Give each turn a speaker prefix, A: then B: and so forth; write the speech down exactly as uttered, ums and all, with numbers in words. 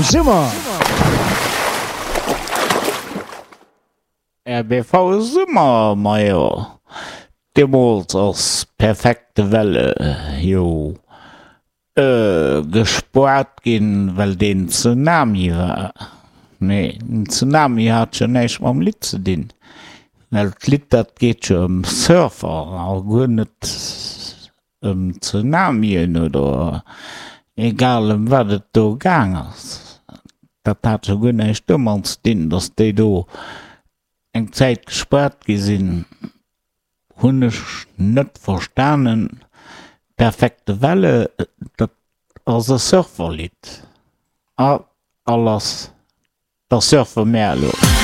A: Summer!
B: R B V Summer, majo deemools ass Perfekte Welle jo gespoart ginn, well deen Tsunami war. Mee den Tsunami hat jo näischt mam Lidd ze dinn, well d'Lidd dat geet jo ëm Surfer a guer net ëm Tsunamien oder egal ëm wat et do gaang ass. Dat hat jo guer näischt domat ze dinn, datt déi do eng Zäit gespaart gi sinn. Hunn ech net verstanen. Perfekte Welle, dat ass e Surferlidd. A a lass, da surfe mär elo.